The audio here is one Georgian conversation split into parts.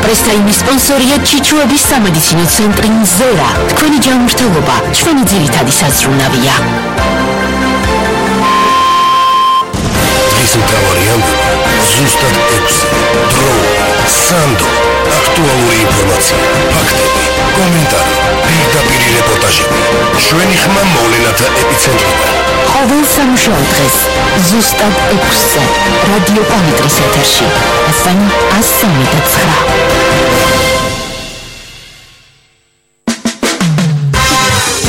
პრესტაიმის სპონსორია ჩიჩუების სამედიცინო ცენტრი ზერა. თქვენი ჯანმრთელობა ჩვენი ძირითადი საზრუნავია. ის მთავარი ამბები ზუსტად 6 დრო, სანდო, აქტუალური ინფორმაცია, ფაქტები, კომენტარი, პირდაპირი რეპორტაჟები. ჩვენი ხმა მოვლენათა ეპიცენტრიდან. ყოველ სამშაბათ დღეს ზუსტად 6-ზე რადიო პალიტრის ეთერში FM 103.9.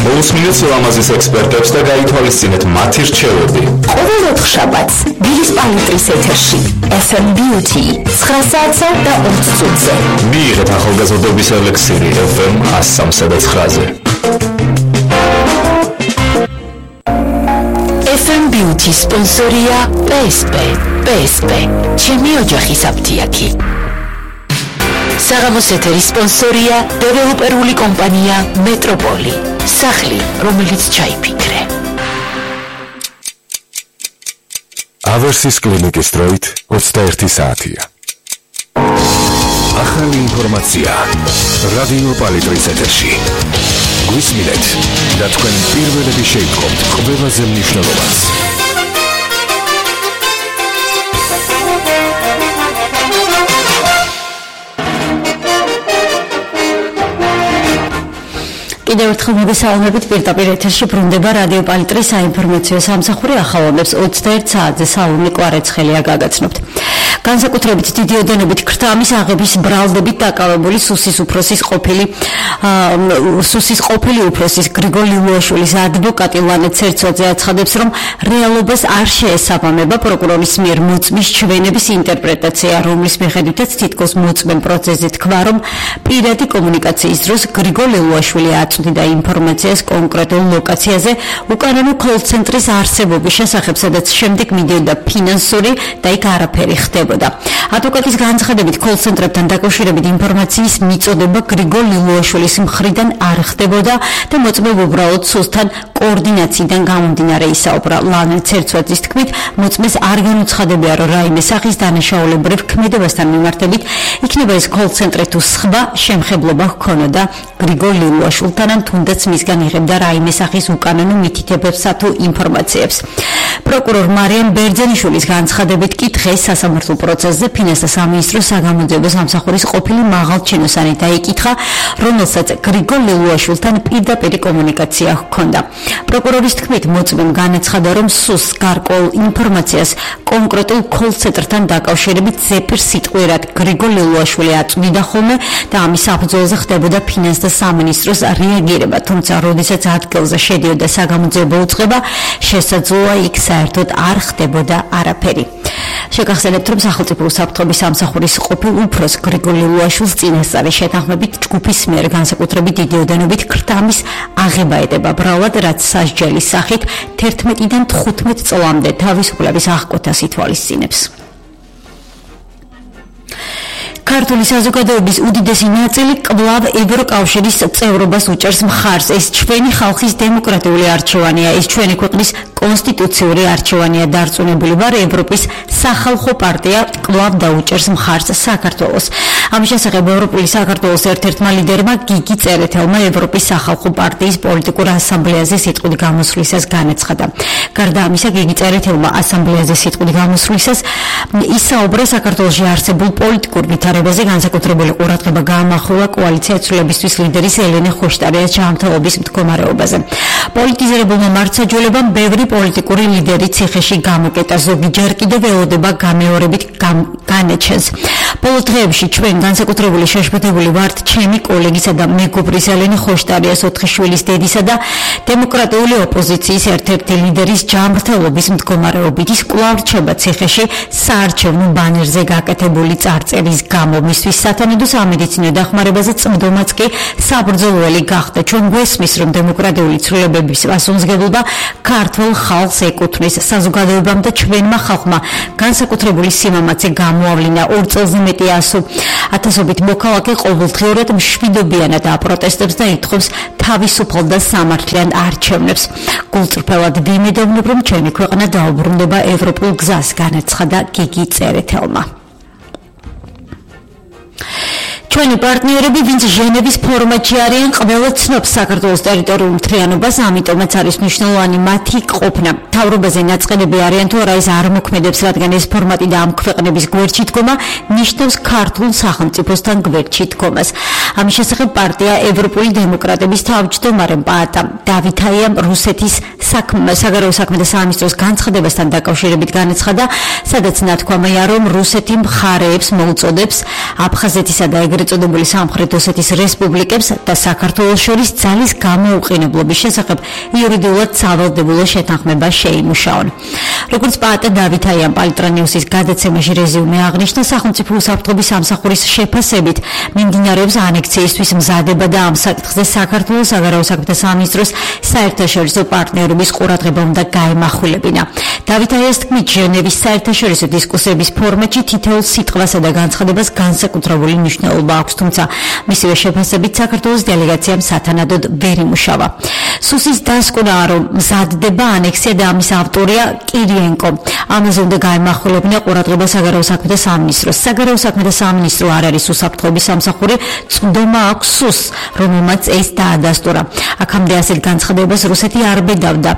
მოусმინეთ ლამაზის ექსპერტებს და გაითვალისწინეთ მათი რჩევები. ყოველ 4 შაბათს ბილის პალიტრის ეთერში FM Beauty 9 საათსა და 20 წუთზე. მიიღეთ ახალგაზრდობის ელექსირი FM 103.9-ზე. FM Beauty სპონსორია PSP. ჩემი ოჯახის აფთიაქი. საღამოს ეთერის სპონსორია დეველოპერული კომპანია მეტროპოლი. სახლი, რომელიც ჩაიფიქრე. ავერსის კლინიკის დროით 21 საათია. ახალი ინფორმაცია რადიო პალიტრის ეთერში. გვისმინეთ და თქვენ პირველები შეიტყობთ ყველაზე მნიშვნელოვანს. კიდევ ერთხელ მოგესალმებით, პირდაპირ ეთერში ბრუნდება რადიო პალიტრის საინფორმაციო სამსახური ახალონებს 21 საათზე საუნი კვარეცხელია გაგაცნობთ. განსაკუთრებით დიდი ოდენობით ქრთამის აღების ბრალდებით დაკავებული სუსის ყოფილი უფროსის გრიგოლ ლიუაშვილის ადვოკატი ლანა ცერცოძე აცხადებს, რომ რეალობას არ შეესაბამება პროკურორის მიერ მოწმის ჩვენების ინტერპრეტაცია, რომლის მიხედვითაც თითქოს მოწმემ პროცესზე თქვა, რომ პირადი კომუნიკაციის დროს გრიგოლ ლიუაშვილი აწვდიდა ინფორმაციას კონკრეტულ ლოკაციაზე უკანონო კოლ-ცენტრის არსებობის შესახებ, სადაც შემდეგ მიდიოდა ფინანსური და იქ არაფერი ხდებოდა. ადვოკატის განცხადებით, კოლ-ცენტრებთან დაკავშირებით ინფორმაციის მიწოდება გრიგოლ ლიუაშვილის მხრიდან არ ხდებოდა და მოწმემ უბრალოდ სუსთან კოორდინაციიდან გამომდინარე ისაუბრა. ლანა ცერცვაძის თქმით, მოწმეს არ განუცხადებია, რომ რაიმე სახის დანაშაულებრივ ქმედებასთან მიმართებით იქნება ეს კოლ-ცენტრი თუ სხვა შემხებლობა ჰქონოდა გრიგოლ ლიუაშვილთან, ან თუნდაც მისგან იღებდა რაიმე სახის უკანონო მითითებებსა თუ ინფორმაციებს. პროკურორ მარიამ ბერძენიშვილის განცხადებით კი დღეს სასამართლო პროცესზე ფინანსთა სამინისტროს საგამოძიებო სამსახურის ყოფილი მაღალჩინოსანი დაიკითხა, რომელსაც გრიგოლ ლიუაშვილთან პირდაპირი კომუნიკაცია ჰქონდა. პროკურორის თქმით, მოწმემ განაცხადა, რომ სუს გარკვეულ ინფორმაციას კონკრეტულ კოლ-ცენტრთან დაკავშირებით ზეპირ სიტყვიერად გრიგოლ ლიუაშვილი აწვდიდა ხოლმე და ამის საფუძველზე ხდებოდა ფინანსთა სამინისტროს რეაგირება, თუმცა როდესაც ადგილზე შედიოდა საგამოძიებო უწყება, შესაძლოა იქ საერთოდ არ ხდებოდა არაფერი. შეგახსენებთ, რომ სახელმწიფო უსაფრთხოების სამსახურის ყოფილ უფროს გრიგოლ ლიუაშვილს წინასწარი შეთანხმებით ჯგუფის მიერ განსაკუთრებით დიდი ოდენობით ქრთამის აღება ეტება ბრალად, რაც სასჯელის სახით 11-დან 15 წლამდე თავისუფლების აღკვეთას ითვალისწინებს. ქართული საზოგადოების უდიდესი ნაწილი კვლავ ევროკავშირის წევრობას უჭერს მხარს. ეს ჩვენი ხალხის დემოკრატიული არჩევანია, ეს ჩვენი ქვეყნის კონსტიტუციური არჩევანია. დარწმუნებული ვარ, ევროპის სახალხო პარტია კვლავ დაუჭერს მხარს საქართველოს. ამის შესახებ ევროპული საქართველოს ერთ-ერთმა ლიდერმა გიგი წერეთელმა ევროპის სახალხო პარტიის პოლიტიკურ ასამბლეაზე სიტყვით გამოსვლისას განაცხადა. გარდა ამისა, გიგი წერეთელმა ასამბლეაზე სიტყვით გამოსვლისას ისაუბრა საქართველოში არსებულ პოლიტიკურ ვითარებაზე, განსაკუთრებული ყურადღება გაამახვილა კოალიცია ცვლილებისთვის ლიდერის ელენე ხოშტარიას ჯანმრთელობის მდგომარეობაზე. პოლიტიზირებულმა მართლმსაჯულებამ ბევრი პოლიტიკური ლიდერი ციხეში გამოკეტა, ზოგი ჯერ კიდევ ველოდება გამეორებით განეჩენს. ბოლო დღეებში ჩვენ განსაკუთრებული შეშფოთებული ვართ ჩემი კოლეგისა და მეგობრის ელენე ხოშტარიას 4 შვილის დედისა და დემოკრატიული ოპოზიციის ერთ-ერთი ლიდერის ჯანმრთელობის მდგომარეობით. ის კვლავ რჩება ციხეში საარჩევნო ბანერზე გაკეთებული წარწერის გამო. მისთვის სათანადო სამედიცინო დახმარებაზე წმდომაც კი საბრძოლველი გახდა. ჩვენ გვესმის, რომ დემოკრატიული ცვლილებების პასუხისმგებლობა ქართულ ხალხს ეკუთვნის. საზოგადოებამ და ჩვენმა ხალხმა განსაკუთრებული სიმამაცე გამოავლინა 2 წელზე მეტი ათასობით მოქალაქე ყოველდღიურად მშვიდობიანად აპროტესტებს და ითხოვს თავისუფალ და სამართლიან არჩევნებს. გულწრფელად ვიმედოვნებ, რომ ჩვენი ქვეყანა დაუბრუნდება ევროპულ გზას, განაცხადა გიგი წერეთელმა. ჩვენი პარტნიორები, ვინც ჟენევის ფორმატში არიან, ყველა ცნობს საქართველოს ტერიტორიულ მთლიანობას, ამიტომაც არის მნიშვნელოვანი მათი ყოფნა. მთავრობაზე ნაწყენები არიან თუ არა ის არ მოქმედებს, რადგან ეს ფორმატი და ამ ქვეყნების გვერდში დგომა ნიშნავს ქართულ სახელმწიფოსთან გვერდში დგომას. ამის შესახებ პარტია ევროპული დემოკრატების თავმჯდომარემ პაატა დავითაიამ რუსეთის საგარეო საქმეთა სამინისტროს განცხადებასთან დაკავშირებით განაცხადა, სადაც ნათქვამია, რომ რუსეთი მხარეებს მოუწოდებს აფხაზეთისა და ეგრეთ წოდებული სამხრეთ ოსეთის რესპუბლიკებს და საქართველოს შორის ძალის გამოუყენებლობის შესახებ იურიდიულად სავალდებულო შეთანხმება შეიმუშაონ. როგორც პაატა დავითაიამ პალიტრანიუსის გადაცემაში რეზიუმე აღნიშნა, სახელმწიფო უსაფრთხოების სამსახურის შეფასებით მიმდინარეობს ანექსიისთვის მზადება და ამ საკითხზე საქართველოს საგარეო საქმეთა სამინისტროს საერთაშორისო პარტნიორების ყურადღება უნდა გაემახვილებინა. დავითაიას თქმით, ჟენევის საერთაშორისო დისკუსიების ფორმატში თითოეულ სიტყვასა და განცხადებას განსაკუთრებული მნიშვნელობა აქვს, თუმცა მისივე შეფასებით საქართველოს დელეგაციამ სათანადოდ ვერ იმუშავა. სუსის დასკვნაა, რომ მზადდება ანექსია და ამის ავტორია კირიენკო. ამაზე უნდა გაემახვილებინა ყურადღება საგარეო საქმეთა სამინისტროს. საგარეო საქმეთა სამინისტრო არ არის უსაფრთხოების სამსახური, წვდომა აქვს სუსს, რომელმაც ეს დაადასტურა. აქამდე ასეთ განცხადებას რუსეთი არ ბედავდა.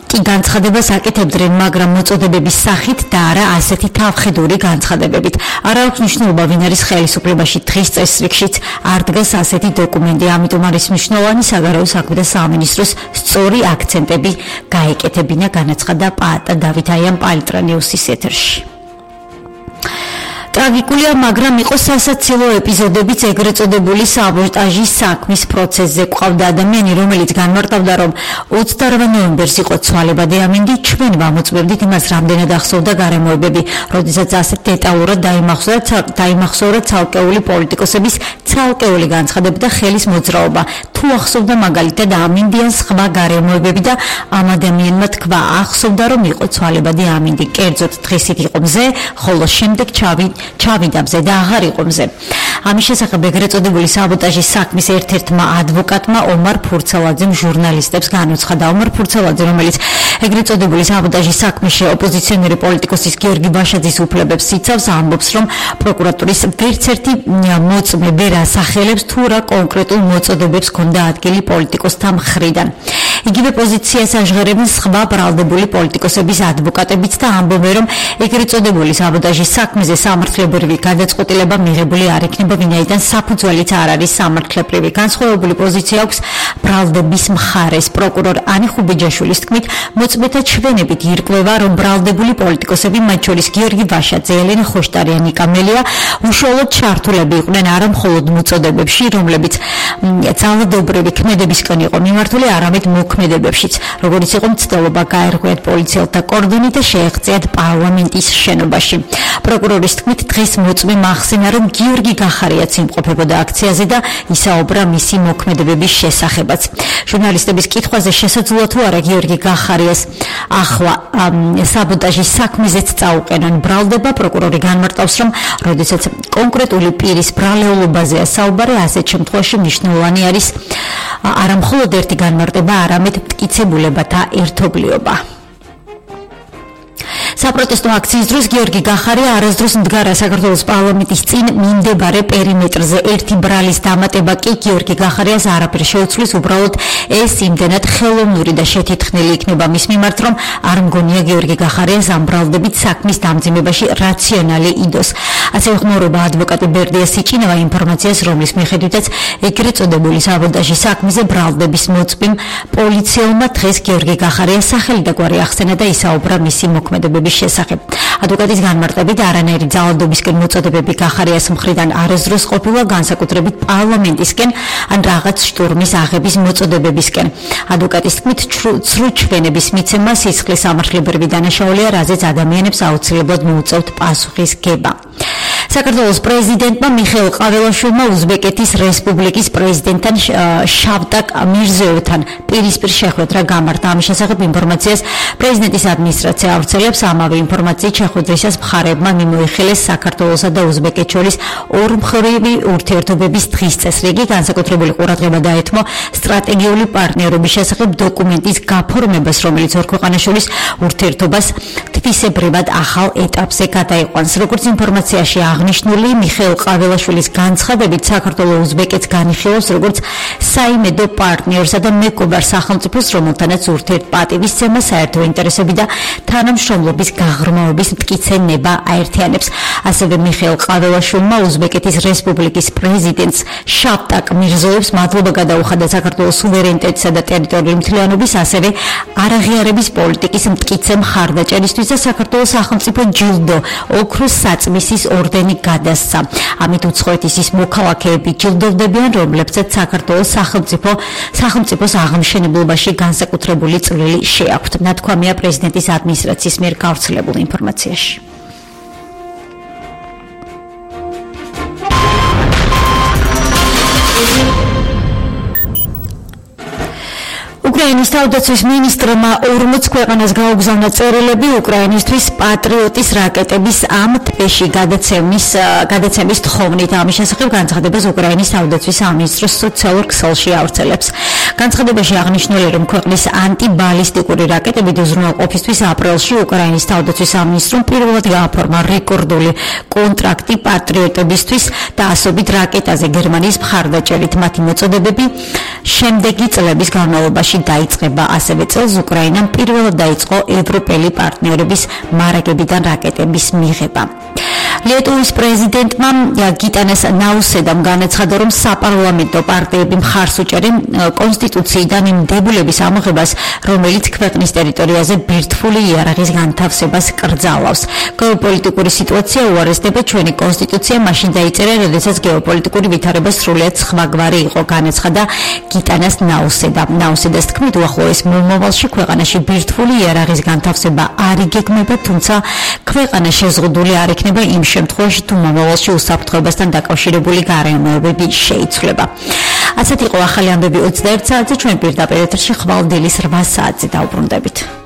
კი განცხადებას აკეთებდნენ, მაგრამ მოწოდებების სახით და არა ასეთი თავხედური განცხადებებით. არ აქვს მნიშვნელობა, ვინ არის ხელისუფლებაში, დღის წესრიგშიც არ დგას ასეთი დოკუმენტი, ამიტომ არის მნიშვნელოვანი საგარეო საქმეთა სამინისტროს სწორი აქცენტები გაეკეთებინა, განაცხადა პაატა დავითაიამ პალიტრანიუსის ეთერში. ტრაგიკულია, მაგრამ იყო სასაცილო ეპიზოდებიც ეგრეთ წოდებული საბოტაჟის საქმის პროცესზე. ყავდა ადამიანი, რომელიც განმარტავდა, რომ 28 ნოემბერს იყო ცვალებადი ამინდი, ჩვენ ვამოწმებდით იმას, რამდენად ახსოვდა გარემოებები, როდესაც ასეთ დეტალურად დაიმახსოვრა ცალკეული პოლიტიკოსების ცალკეული განცხადებები და ხელის მოძრაობა. თუ ახსოვდა მაგალითად ამინდიან სხვა გარემოებები და ამ ადამიანმა თქვა, ახსოვდა, რომ იყო ცვალებადი ამინდი, კერძოდ დღისით იყო მზე, ხოლო შემდეგ ჩავიდა მზე და აღარ იყო მზე. ამის შესახებ ეგრეთ წოდებული საბოტაჟის საქმის ერთ-ერთმა ადვოკატმა ომარ ფურცელაძემ ჟურნალისტებს განუცხადა. ომარ ფურცელაძე, რომელიც ეგრეთ წოდებული საბოტაჟის საქმეში ოპოზიციონერი პოლიტიკოსის გიორგი ბაშაძის უფლებებს იცავს, ამბობს, რომ პროკურატურის ვერც ერთი მოწმე ვერ ასახელებს თუ რა კონკრეტულ მოწოდებებს ჰქონდა ადგილი პოლიტიკოსთა მხრიდან. იგივე პოზიციას აჟღერებენ სხვა ბრალდებული პოლიტიკოსების ადვოკატებიც და ამბობენ, რომ ეგრეთ წოდებული საბოტაჟის საქმეზე სამართლებრივი გადაწყვეტილება მიღებული არ იქნება, ვინაიდან საფუძველიც არ არის სამართლებრივი. განსხვავებული პოზიცია აქვს ბრალდების მხარეს. პროკურორ ანი ხუბიჯაშვილის თქმით, მოწმეთა ჩვენებით ირკვევა, რომ ბრალდებული პოლიტიკოსები, მათ შორის გიორგი ბაშაძე, ელენე ხოშტარი, ნიკა მელია, უშუალოდ ჩართულები იყვნენ არა მხოლოდ მოწოდებებში, რომლებიც ძალადობრივი ქმედებისკენ იყო მიმართული, არამედ მოქმედებებშიც, როგორც იყო მცდელობა გაერღვიათ პოლიციელთა კორდონი და შეეღწიათ პარლამენტის შენობაში. პროკურორის თქმით, დღეს მოწმე მახსენა, რომ გიორგი გახარიაც იმყოფებოდა აქციაზე და ისაუბრა მისი მოქმედებების შესახებაც. ჟურნალისტების კითხვაზე შესაძლოა თუ არა გიორგი გახარიას ახლა საბოტაჟის საქმეზეც წაუყენონ ბრალდება, პროკურორი განმარტავს, რომ როდესაც კონკრეტული პირის ბრალეულობაზეა საუბარი, ასეთ შემთხვევაში მნიშვნელოვანი არის არა მხოლოდ ერთი განმარტება, არამედ მტკიცებულებათა ერთობლიობა. საპროტესტო აქციის დროს გიორგი გახარია არასდროს მდგარა საქართველოს პარლამენტის წინ მიმდებარე პერიმეტრზე. ერთი ბრალის დამატება კი გიორგი გახარიას არაფერს შეუცვლის, უბრალოდ ეს იმდენად ხელოვნური და შეთითხნილი იქნება მის მიმართ, რომ არ მგონია გიორგი გახარიას ამ ბრალდებით საქმის დამძიმებაში რაციონალი იდოს. ასევე ხმაურობა ადვოკატი ბერდია სიჭინავა ინფორმაციას, რომლის მიხედვითაც ეგრეთ წოდებული საბოტაჟის საქმეზე ბრალდების მოწმემ პოლიციელმა დღეს გიორგი გახარიას სახელი და გვარი ახსენა და ისაუბრა მისი მოქმედებების შესახებ. ადვოკატის განმარტებით, არანაირი ძალადობისკენ მოწოდებები გახარიას მხრიდან არასდროს ყოფილა, განსაკუთრებით პარლამენტისკენ ან რაღაც შტურმის აღების მოწოდებებისკენ. ადვოკატის თქმით, ცრუ ჩვენების მიცემა სისხლის სამართლებრივი დანაშაულია, რაზეც ადამიანებს აუცილებლად მოუწევთ პასუხის გება. საქართველოს პრეზიდენტმა მიხეილ ყაველაშვილმა უზბეკეთის რესპუბლიკის პრეზიდენტთან შავტაკ მირზიევთან პირისპირ შეხვედრა გამართა. ამის შესახებ ინფორმაციას პრეზიდენტის ადმინისტრაცია ავრცელებს. ამავე ინფორმაციით შეხვედრისას მხარეებმა მიმოიხილეს საქართველოსა და უზბეკეთს შორის ორმხრივი ურთიერთობების დღის წესრიგი, განსაკუთრებული ყურადღება დაეთმო სტრატეგიული პარტნიორობის შესახებ დოკუმენტის გაფორმებას, რომელიც ორ ქვეყანას შორის ურთიერთობას თვისებრივად ახალ ეტაპზე გადაიყვანს. როგორც ინფორმაციაში აღნიშნული მიხეილ ყაველაშვილის განცხადებით საქართველოს უზბეკეთს განიხილავს როგორც საიმედო პარტნიორსა და მეგობარ სახელმწიფოს, რომელთანაც ურთიერთპატივისცემა, საერთო ინტერესები და თანამშრომლობის გაღრმავების მტკიცე ნება აერთიანებს. ასევე მიხეილ ყაველაშვილმა უზბეკეთის რესპუბლიკის პრეზიდენტს შავტაკ მირზოევს მადლობა გადაუხადა საქართველოს სუვერენიტეტისა და ტერიტორიული მთლიანობის, ასევე არაღიარების პოლიტიკის მტკიცე მხარდაჭერისთვის და საქართველოს სახელმწიფო ჯილდო ოქროს საწმისის ორდენი გადასცა. ამით უცხოეთის ის მოქალაქეები ჯილდოვდებიან, რომლებსაც საქართველოს სახელმწიფოს აღმშენებლობაში განსაკუთრებული წვლილი შეაქვთ. ნათქვამია პრეზიდენტის ადმინისტრაციის მიერ გავრცელებულ ინფორმაციაში. უკრაინის თავდაცვის მინისტრმა 40 ქვეყანას გაუგზავნა წერილები უკრაინისთვის პატრიოტის რაკეტების ამ თვეში გადაცემის თხოვნით. ამის შესახებ განცხადებას უკრაინის თავდაცვის სამინისტროს სოციალურ ქსელში ავრცელებს. განცხადებაში აღნიშნული, რომ ქვეყნის ანტიბალისტიკური რაკეტებით უზრუნველყოფისთვის აპრილში უკრაინის თავდაცვის სამინისტრომ პირველად გააფორმა რეკორდული კონტრაქტი პატრიოტებისთვის და ასობით რაკეტაზე გერმანიის მხარდაჭერით. მათი მოწოდებები შემდეგი წლების განმავლობაში დაიწყება. ასევე წელს უკრაინამ პირველად დაიწყო ევროპელი პარტნიორების მარაგებიდან რაკეტების მიღება. ლიეტუვის პრეზიდენტმა გიტანას ნაუსედამ განაცხადა, რომ საპარლამენტო პარტიები მხარს უჭერენ კონსტიტუციიდან იმ დებულების ამოღებას, რომელიც ქვეყნის ტერიტორიაზე ბირთვული იარაღის განთავსებას კრძალავს. გეოპოლიტიკური სიტუაცია უარესდება, ჩვენი კონსტიტუცია მაშინ დაიწერა, როდესაც გეოპოლიტიკური ვითარება სრულიად სხვაგვარი იყო, განაცხადა გიტანას ნაუსედამ. ნაუსედას თქმით, უახლოეს მომავალში ქვეყანაში ბირთვული იარაღის განთავსება არ იგეგმება, თუმცა ქვეყანა შეზღუდული არ იქნება იმ შემთხვევაში, თუ მომავალში უსაფრთხოებასთან დაკავშირებული გარემოებები შეიცვლება. ასეთ იყო ახალი ამბები 21 საათზე, ჩვენ პირდაპირ ეთერში ხვალ დილის 8 საათზე დავბრუნდებით.